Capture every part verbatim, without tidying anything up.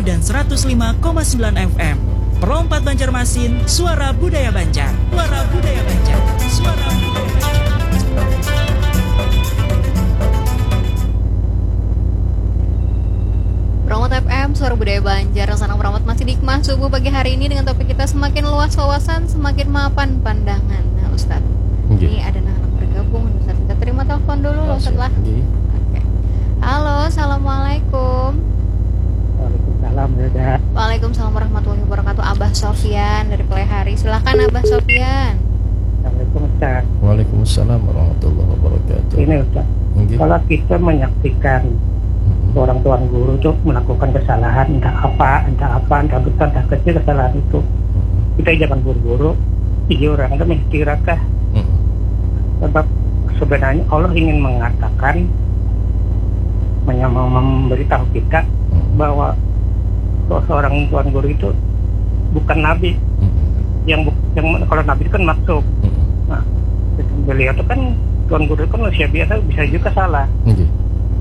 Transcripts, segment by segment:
dan seratus lima koma sembilan F M. Pro empat Banjarmasin, suara budaya Banjar. Suara budaya Banjar. Suara budaya Banjar. Pro empat F M, suara budaya Banjar. Sanang Pro empat masih di Hikmah Subuh pagi hari ini dengan topik kita semakin luas wawasan, semakin mapan pandangan. Nah, Ustaz, Nggih. ini ada anak-anak bergabung, Ustaz. Kita terima telepon dulu, Ustaz, lah. Nggih. Oke. Halo, assalamualaikum. Waalaikumsalam, Hilda. Waalaikumsalam warahmatullahi wabarakatuh. Abah Sofyan dari Pelehari. Silakan, Abah Sofyan. Assalamualaikum, Ustaz. Waalaikumsalam warahmatullahi wabarakatuh. Ini, Ustaz. Nggih. Kalau kita menyaksikan Mm-mm. orang tuan guru tuh melakukan kesalahan, entah apa, entah apa, entah besar, entah kecil kesalahan itu, Mm-mm. kita jangan buru-buru tiga orang itu mesti rakah. Mm-mm. Sebab sebenarnya Allah ingin mengatakan, menya-, mem-, memberitahu kita Mm-mm. bahwa se-, seorang tuan guru itu bukan nabi. Mm-mm. Yang bu-, yang, kalau nabi itu kan maksum. Mm-mm. Nah, beliau itu kan tuan guru itu kan manusia biasa, bisa juga salah. Nggih.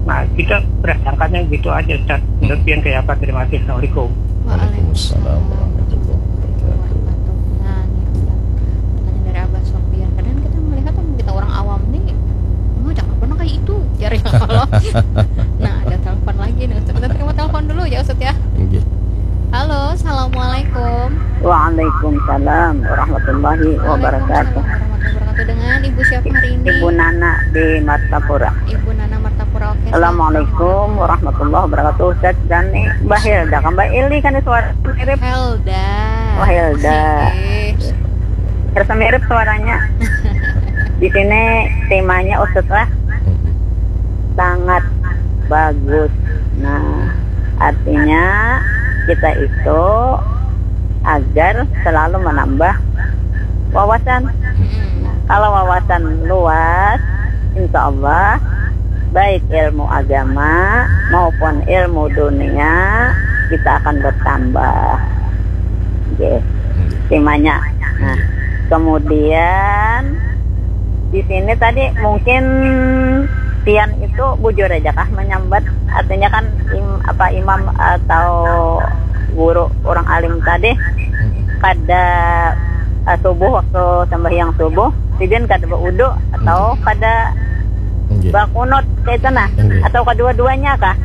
Nah, kita berasangkanya gitu aja, Ustaz. Menurut Mm-mm. pian kayak apa? Terima kasih. Assalamualaikum. Waalaikumsalam warahmatullahi wabarakatuh. Nah, ini Ustaz, pertanyaan dari Abah Sofyan. Kadang kita melihat, kita orang awam nih, "Oh, jangan pernah kayak itu," jar ya Allah. Nah, ada telepon lagi nih, Ustaz. Kita terima telepon dulu ya, Ustaz, ya. Nggih. Halo, assalamualaikum. Waalaikumsalam warahmatullahi wabarakatuh. Waalaikumsalam warahmatullahi wabarakatuh. Dengan Ibu siapa hari ini? Ibu Nana di Martapura. Ibu Nana Martapura, oke. Assalamualaikum warahmatullahi wabarakatuh. Ustaz Dani, Mbak Hilda, kan Mbak Ili kan suara mirip. Helda. Oh, Helda. Oke. Rasa mirip suaranya. Di sini temanya, Ustaz, lah. Sangat bagus. Nah, artinya kita itu agar selalu menambah wawasan. Nah, kalau wawasan luas, insya Allah, baik ilmu agama maupun ilmu dunia, kita akan bertambah. Oke, temanya. Nah, kemudian di sini tadi mungkin pian itu bujur aja kah menyambat, artinya kan im-, apa, imam atau guru orang alim tadi kada, eh, subuh, waktu sembahyang subuh sidin kada baudu atau kada bakunut, kayak itu nah, atau kedua-duanya kah?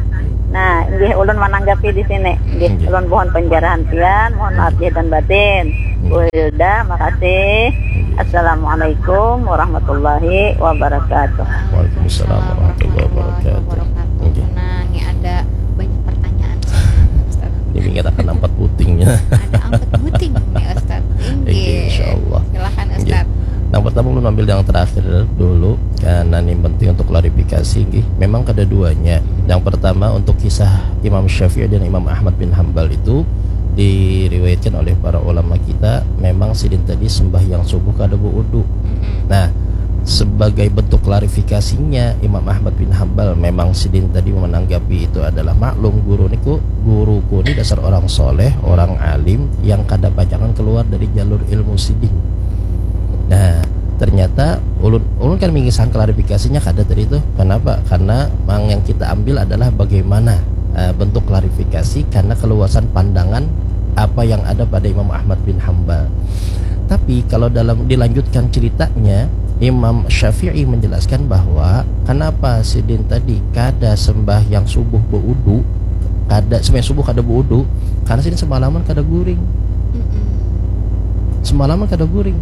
Nah, nggih, ulun menanggapi di sini. Nggih, ulun mohon penjarahan pian, mohon maaf lahir dan batin. Nggih. Bu Hilda, makasih. Nggih. Assalamualaikum warahmatullahi wabarakatuh. Waalaikumsalam warahmatullahi wabarakatuh. Nggih. Nah, ini ada banyak pertanyaan, Ustaz. Ini kita akan ampat putingnya. Ada ampat puting nih, Ustaz. Nggih, insyaallah. Silakan, Ustaz. Nggih. Yang pertama, ulun ambil yang terakhir dulu, karena ini penting untuk klarifikasi, nggih. Memang kada duanya. Yang pertama, untuk kisah Imam Syafi'i dan Imam Ahmad bin Hambal itu diriwayatkan oleh para ulama kita, memang sidin tadi sembahyang subuh kada baudu. Nah, sebagai bentuk klarifikasinya, Imam Ahmad bin Hambal, memang sidin tadi menanggapi itu adalah, maklum, guru niku, guruku ni dasar orang soleh, orang alim yang kada pacangan keluar dari jalur ilmu sidin. Nah, ternyata ulun, ulun kan mingisah klarifikasinya kada tadi tuh. Kenapa? Karena mang yang kita ambil adalah bagaimana, eh, bentuk klarifikasi karena keluasan pandangan apa yang ada pada Imam Ahmad bin Hambal. Tapi kalau dalam dilanjutkan ceritanya, Imam Syafi'i menjelaskan bahwa kenapa sidin tadi kada sembahyang subuh baudu, kada sembahyang subuh kada baudu, karena sidin semalaman kada guring. Mm-mm. Semalaman kada guring.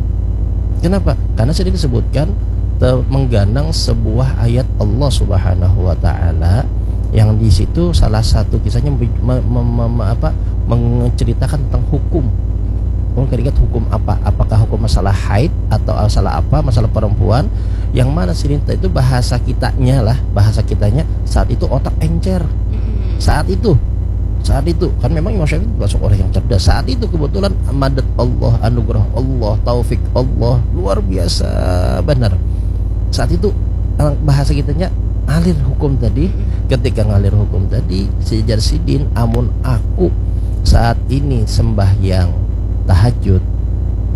Kenapa? Karena sidin disebutkan te-, mengganang sebuah ayat Allah Subhanahu wa Ta'ala yang di situ salah satu kisahnya me-, me-, me-, me-, apa, menceritakan tentang hukum. Ulun kada ingat hukum apa, apakah hukum masalah haid atau masalah apa, masalah perempuan, yang mana sidin tadi itu bahasa kitanya lah, bahasa kitanya saat itu otak encer. Mm-mm. Saat itu, saat itu kan memang Imam Syafi'i termasuk orang yang cerdas. Saat itu kebetulan madat Allah, anugerah Allah, taufik Allah luar biasa benar. Saat itu, eh, bahasa kitanya ngalir hukum tadi. Mm-mm. Ketika ngalir hukum tadi, sejar sidin, amun aku saat ini sembahyang tahajud,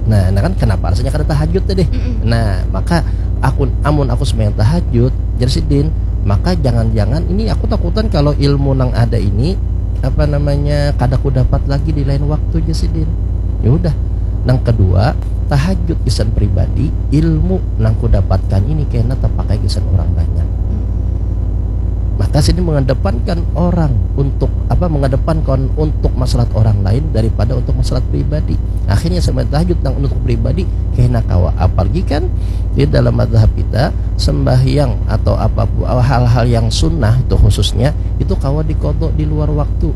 nah, nah kan kenapa rasanya kada tahajud tadi? Mm-mm. Nah, maka aku, amun aku sembahyang tahajud, jar sidin, maka jangan-jangan ini aku takutan kalau ilmu nang ada ini apa namanya, kada ku dapat lagi di lain waktu, jar sidin. Ya udah. Nang kedua, tahajud gasan pribadi, ilmu nang ku dapatkan ini kena tapakai gasan orang banyak. Maka sidin mengedepankan orang untuk apa, mengedepankan untuk maslahat orang lain daripada untuk maslahat pribadi. Akhirnya sembahyang tahajud nang untuk pribadi kena kawa. Apalagi kan di dalam mazhab kita, sembahyang atau apa hal-hal yang sunnah itu khususnya itu kawa dikodok di luar waktu.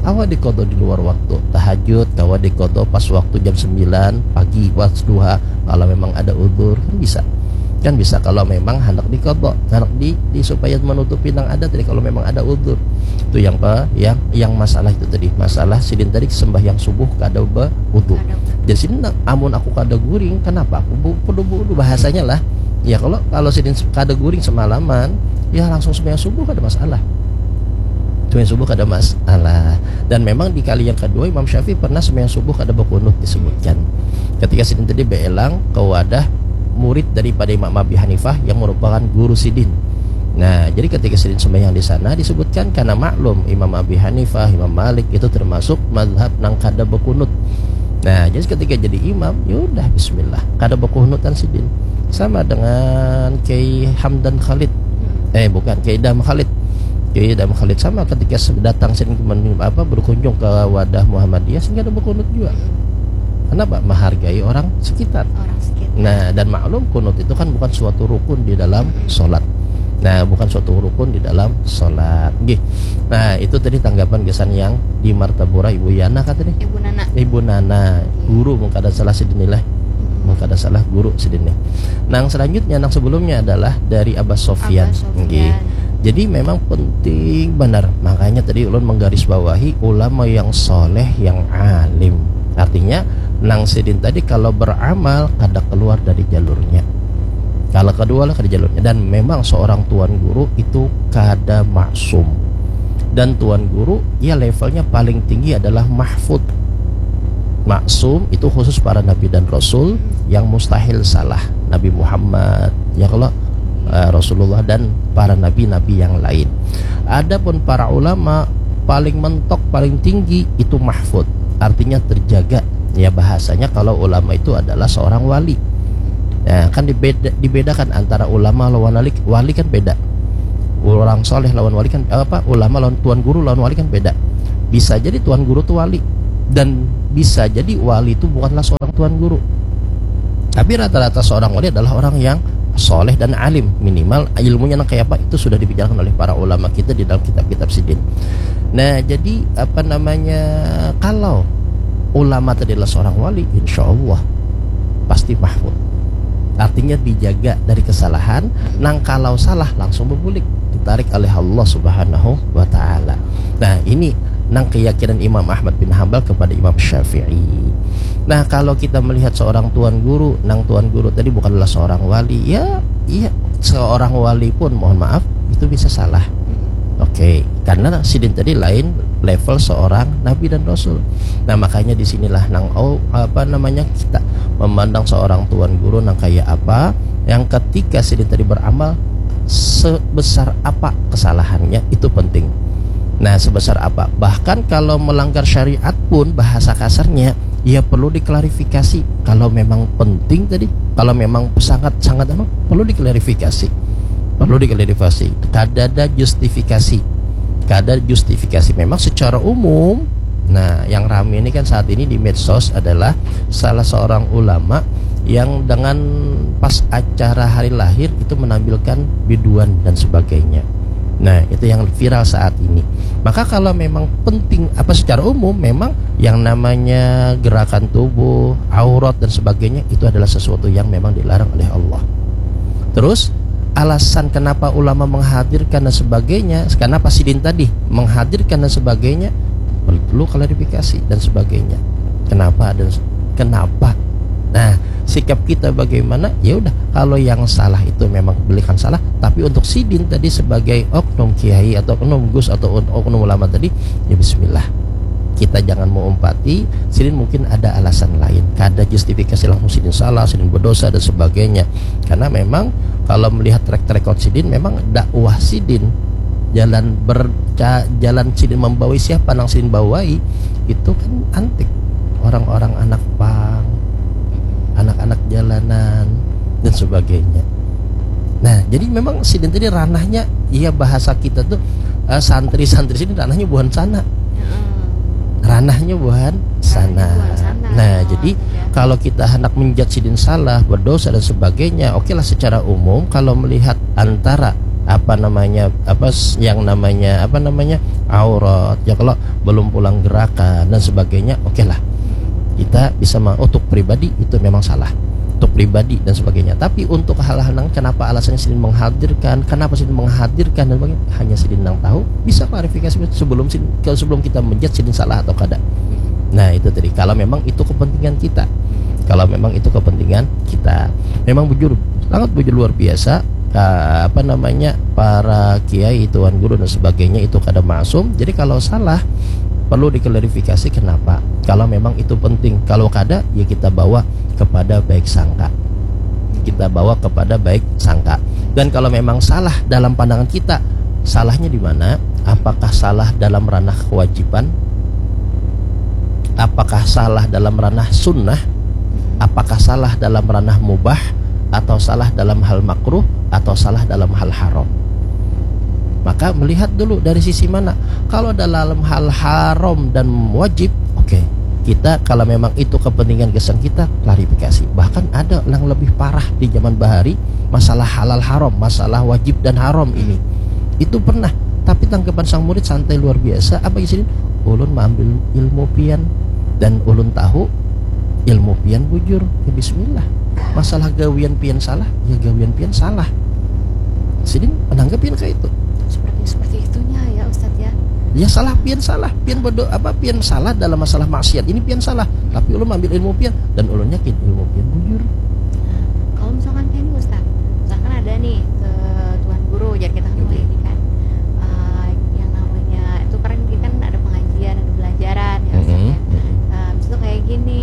Kawa dikodok di luar waktu. Tahajud kawa dikodok pas waktu jam sembilan pagi, pas duha, kalau memang ada udzur kan bisa. Kan bisa kalau memang hendak dikodok, hendak di, di supaya menutupi nang ada tadi kalau memang ada udzur. Itu yang pe, yang yang masalah itu tadi, masalah sidin tadi sembahyang subuh kada baudzur. Jadi sidin, amun aku kada guring, kenapa aku bu, kudu baudzur, bahasanya lah. Ya kalau kalau sidin kada guring semalaman, ya langsung sembahyang subuh kada masalah. Sembahyang subuh kada masalah. Dan memang di kali yang kedua Imam Syafi'i pernah sembahyang subuh kada bakunut disebutkan. Ketika sidin tadi beelang ke wadah murid daripada Imam Abi Hanifah yang merupakan guru sidin. Nah, jadi ketika sidin sembahyang di sana disebutkan karena maklum Imam Abi Hanifah, Imam Malik itu termasuk mazhab nang kada bakunut. Nah, jadi ketika jadi imam, ya udah bismillah. Kada bakunutan sidin. Sama dengan Kiai Hamdan Khalid. Eh, bukan, Kiai Idham Khalid. Kiai Idham Khalid sama ketika se-, datang sidin ke men-, apa, berkunjung ke wadah Muhammadiyah, sidin kada bakunut juga. Kenapa? Menghargai orang sekitar. Orang sekitar. Nah, dan maklum kunut itu kan bukan suatu rukun di dalam sholat. Nah, bukan suatu rukun di dalam sholat. Nggih. Nah, itu tadi tanggapan gasan yang di Martapura, Ibu Yana kata nih. Ibu Nana. Ibu Nana, guru mun kada salah sidin nih lah. Mun kada salah guru sidin nih. Nang selanjutnya, nang sebelumnya adalah dari Abah Sofyan. Abah Sofyan. Nggih. Jadi memang penting benar. Makanya tadi ulun menggarisbawahi ulama yang soleh, yang alim. Artinya nang sidin tadi kalau beramal kada keluar dari jalurnya. Kalau kedua lah kada jalurnya. Dan memang seorang tuan guru itu kada maksum. Dan tuan guru, ya, levelnya paling tinggi adalah mahfud. Maksum itu khusus para nabi dan rasul yang mustahil salah. Nabi Muhammad, ya kalau, eh, Rasulullah dan para nabi-nabi yang lain. Adapun para ulama paling mentok, paling tinggi itu mahfud. Artinya terjaga. Ya, bahasanya kalau ulama itu adalah seorang wali. Nah, kan dibeda, dibedakan antara ulama lawan wali. Wali kan beda. Orang soleh lawan wali kan, apa, ulama lawan tuan guru lawan wali kan beda. Bisa jadi tuan guru tuh wali, dan bisa jadi wali itu bukanlah seorang tuan guru. Tapi rata-rata seorang wali adalah orang yang soleh dan alim, minimal ilmunya nang kayak apa itu sudah dibicarakan oleh para ulama kita di dalam kitab-kitab sidin. Nah, jadi apa namanya, kalau ulama tadi adalah seorang wali, insya Allah pasti mahfud. Artinya dijaga dari kesalahan, nang kalau salah langsung berbulik, ditarik oleh Allah Subhanahu wa Ta'ala. Nah, ini nang keyakinan Imam Ahmad bin Hambal kepada Imam Syafi'i. Nah, kalau kita melihat seorang tuan guru, nang tuan guru tadi bukanlah seorang wali, ya, iya, seorang wali pun, mohon maaf, itu bisa salah. Oke, karena sidin tadi lain level seorang nabi dan rasul. Nah, makanya di sinilah nang, oh, apa namanya, kita memandang seorang tuan guru nang kayak apa, yang ketika sidin tadi beramal sebesar apa kesalahannya itu penting. Nah, sebesar apa? Bahkan kalau melanggar syariat pun, bahasa kasarnya, ya perlu diklarifikasi. Kalau memang penting tadi, kalau memang sangat-sangat apa, perlu diklarifikasi. Perlu diklarifikasi. Kada ada justifikasi. Kada justifikasi. Memang secara umum, nah, yang rame ini kan saat ini di medsos adalah salah seorang ulama yang dengan pas acara hari lahir itu menampilkan biduan dan sebagainya. Nah, itu yang viral saat ini. Maka kalau memang penting, apa, secara umum, memang yang namanya gerakan tubuh, aurat dan sebagainya itu adalah sesuatu yang memang dilarang oleh Allah. Terus alasan kenapa ulama menghadirkan dan sebagainya, kenapa sidin tadi menghadirkan dan sebagainya, perlu klarifikasi dan sebagainya. Kenapa dan kenapa? Nah, sikap kita bagaimana? Ya udah, kalau yang salah itu memang belikan salah, tapi untuk sidin tadi sebagai oknum kiai atau oknum gus atau oknum ulama tadi, ya bismillah. Kita jangan mau umpati, sidin mungkin ada alasan lain. Kada justifikasi langsung sidin salah, sidin berdosa dan sebagainya. Karena memang kalau melihat track record sidin, memang dakwah sidin jalan ber ca- jalan sidin membawai siapa nang sidin bawai, itu kan antik, orang-orang anak pang, anak-anak jalanan dan sebagainya. Nah, jadi memang sidin tadi ranahnya, iya, bahasa kita tuh, eh, santri-santri sidin ranahnya buhan sana, ranahnya buhan sana. Buhan sana. Nah, Oh, jadi iya. Kalau kita hendak menjudge sidin salah, berdosa dan sebagainya, oke lah, secara umum kalau melihat antara apa namanya, apa s- yang namanya, apa namanya, aurat, ya, kalau belum pulang gerakan dan sebagainya, oke lah, kita bisa ma- untuk pribadi itu memang salah, untuk pribadi dan sebagainya. Tapi untuk hal-hal yang kenapa alasannya sidin menghadirkan, kenapa sidin menghadirkan dan sebagainya, hanya sidin nang tahu, bisa klarifikasi sebelum sidin, kalau sebelum kita menjudge sidin salah atau kada. Nah, itu tadi, kalau memang itu kepentingan kita, kalau memang itu kepentingan kita, memang bujur, sangat bujur, luar biasa, eh, apa namanya, para kiai, tuan guru dan sebagainya itu kada maksum. Jadi kalau salah, perlu diklarifikasi kenapa. Kalau memang itu penting, kalau kada, ya kita bawa kepada baik sangka, kita bawa kepada baik sangka. Dan kalau memang salah dalam pandangan kita, salahnya di mana? Apakah salah dalam ranah kewajiban? Apakah salah dalam ranah sunnah? Apakah salah dalam ranah mubah? Atau salah dalam hal makruh? Atau salah dalam hal haram? Maka melihat dulu dari sisi mana. Kalau dalam hal haram dan wajib, oke, kita kalau memang itu kepentingan gasan kita, klarifikasi. Bahkan ada yang lebih parah di zaman bahari, masalah halal haram, masalah wajib dan haram ini. Itu pernah, tapi tanggapan sang murid santai luar biasa. Apa isi ini? Ulun maambil ilmu pian dan ulun tahu ilmu pian bujur. Ya, bismillah. Masalah gawian pian salah, ya gawian pian salah. Sidin menanggapi yang kayak itu. Seperti seperti itunya ya, Ustadz, ya. Ya, salah pian salah, pian bodoh apa, pian salah dalam masalah maksiat ini, pian salah. Tapi ulun ambil ilmu pian dan ulun yakin ilmu pian bujur. Kalau misalkan kayak ini, Ustadz, misalkan ada nih ke tuan guru, jadi kita kan Oke. Ini kan, eh, yang namanya itu kan kita kan ada pengajian, ada belajaran ya, Ustadz, Mm-mm. ya. Nah, habis itu kayak gini,